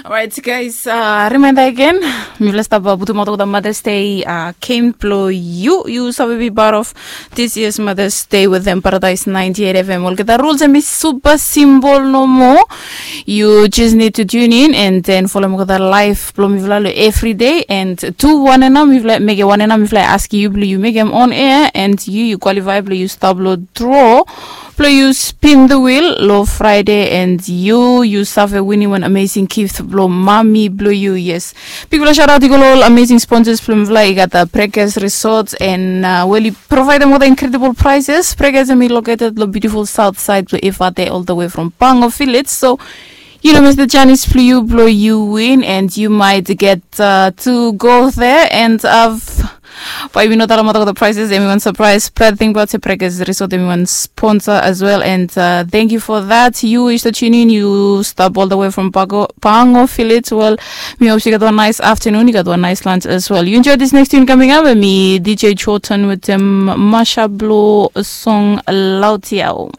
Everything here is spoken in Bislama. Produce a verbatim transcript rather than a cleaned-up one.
Alright, guys, uh, reminder again. Mifala stap uh, putum out the Mother's Day uh, game blo yu. Yu save be part of this year's Mother's Day with them Paradise ninety-eight F M. Olgeta rules and be super simple no more. You just need to tune in and then follow me the live blo mifala lo every day and tu one and now mifala make one and now mifala ask you blo you make them on air and you you qualify blo you stop lo draw. Blo yu spin the wheel lo Friday and yu yu save winning one amazing gift blo mami blo yu. Yes, bigfala shout out i go lo all amazing sponsors blo mifala i gat the Breakers Resort and uh, well i provide them with incredible prizes. Breakers em i located lo beautiful south side blo Efate all the way from Pango Village. So you know, Mister Janis, blo you, blo you win, and you might get uh, to go there and have Bai mi no tala mata ko the prices, everyone surprise. But think about se Breakers Resort, everyone sponsor as well. And uh, thank you for that. You is the tune in, you stop all the way from Pango, Pango Village. Well, mi hope you got one nice afternoon, you got one nice lunch as well. You enjoy this next tune coming up, and me D J Chotan with them Masha Blo song Lautiao.